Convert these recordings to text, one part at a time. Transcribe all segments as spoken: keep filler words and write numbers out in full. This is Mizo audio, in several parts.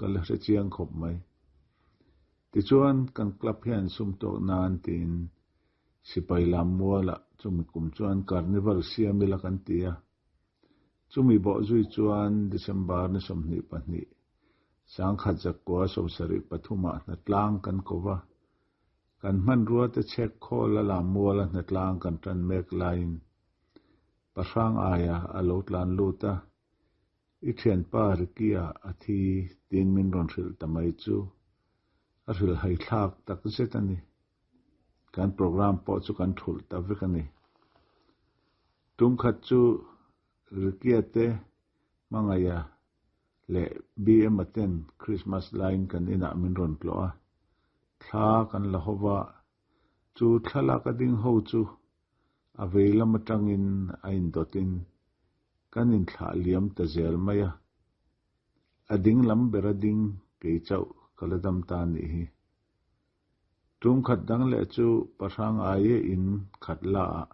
ka la hre chiang khawp mai. Tichuan kan club hian sum tawk nan tiin sipai lam mualah chumi kum chuan carnival siam ila kan ti a. Chumi bawh zui chuan December ni sawmhnih pahnih sangkhat zakua sawmsarih pathumah hnatlang kan ko va. Kan hmanrua te chhek khawl a lam muala hnatlang kan tan mek laiin pahrang aia a lo tlan lut a. I thianpa Ricky-a a thi tiin min rawn hrilh ta mai chu a hrilh hai thlak tak zet a ni. Kan program pawh chu kan thulh ta vek a ni. Tum khat chu Ricky-a te hmangaia leh B M a ten Christmas laiin kan inah min rawn tlawh a. Thla kan la hova chu thlalak a ding ho chu a vei lam atangin a indawtin kan inthlah liam ta zel mai a. A ding lam ber a ding kei chauh ka la dam ta nih hi. Tum khat dang leh chu pahrang aia in khat la ah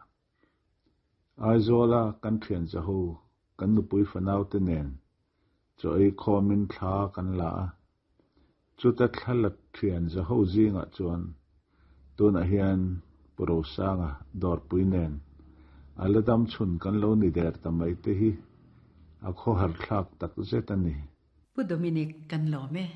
Aizawla kan thian zaho kan nupui fanau te nen chaw ei khawmin thla kan la a. Chuta thla la thian zaho zingah chuan tunah hian Pu Rosanga dawrpui nen a la dam chhun kan lo ni der ta mai te hi a khawhar thlak tak zet a ni. Pu Dominic kan lawm e.